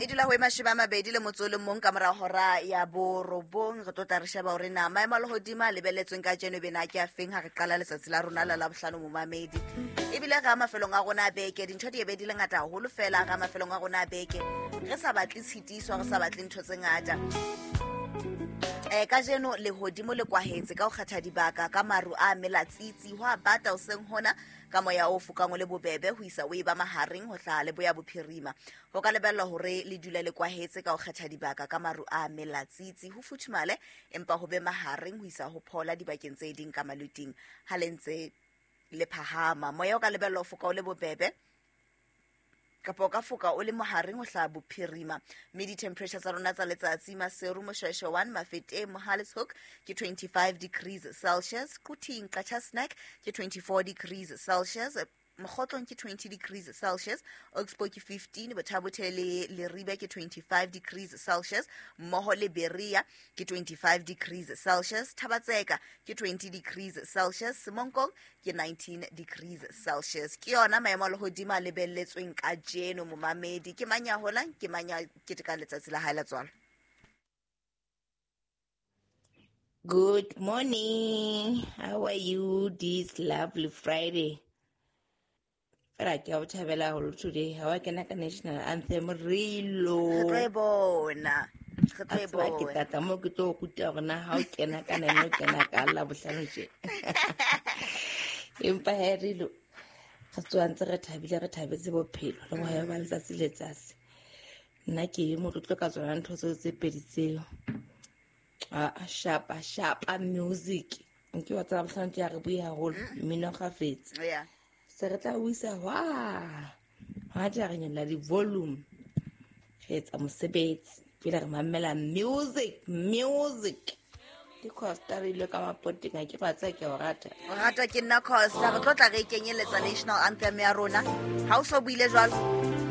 E dula ho e 21 ka mora hora ya 9. Re tlo tla re sheba hore na maemo a lehodimo a lebelletsweng ka jeno bena ke a feng ha re qala letsatsi la rona la Labohlano, momamedi. Ebile re a mafelong a rona a beke, dintho di ebe di le ngata haholo fela. Re a mafelong a rona a beke, re sa batle tshitiso, re sa batle ntho tse ngata. Kajeno lehodimo le kwahetse ka ho kgetha dibaka ka maru a melatsitsi, ho a bata hoseng hona ka moya o fokang o le bobebe ho isa o e ba mahareng ho hlaha le boya bophirima. Ho ka lebellwa hore le dule le kwahetse ka ho kgetha dibaka ka maru a melatsitsi, ho futhumale empa ho be mahareng ho isa ho phola dibakeng tse ding ka maluting ha le ntse le phahama. Moya o ka lebellwa ho foka o le bobebe kapa o ka foka o le mohareng ho hlaha bophirima, mme di-temperature tsa rona tsa letsatsi: Maseru, Moshweshwe 1, Mafeteng, Mohale's Hoek ke 25 degrees Celsius, Quthing, Qacha's Nek ke 24 degrees Celsius, Mokgotlong ke 20 degrees Celsius, Oxbow ke 15, Bothabothe le Leribe ke 25 degrees Celsius, mmoho le Berea ke 25 degrees Celsius, Thabatseka ke 20 degrees Celsius, Semonkong ke 19 degrees Celsius. Ke yona maemo a lehodimo a lebelletsweng ka jeno, momamedi. Ke mang ya holang, ke mang ya ketekang letsatsi la hae la tswalo? Good morning. How are you this lovely Friday? Fela ke a o thabela haholo today. Ha wa kena ka national anthem rilo. Re tlo e bona. Re tlo e bona. Ke tata mo ke tlo ruta hore na ha o kena ka nene o kena ka la bohlano tje. Empa he rilo re tsoa ntse re thabile, re thabetse bophelo le bohayo ba letsatsi letsatsi. Nna ke motlotlo ka tsona ntho tseo tse pedi tseo. A shapa shapa music nke wa tsaba bohlano ke a re bue haholo mmino kgafetse. Se re tla o isa hwa hwa tla re nyolla di-volume, re etsa mosebetsi pele re mamela music. Music ke Costa re ile ka mapoteng a ke ba tsaya ke o rata. O ratwa ke nna, Costa. Re tlo tla re kenyeletsa national anthem ya rona ha o so buile jwalo.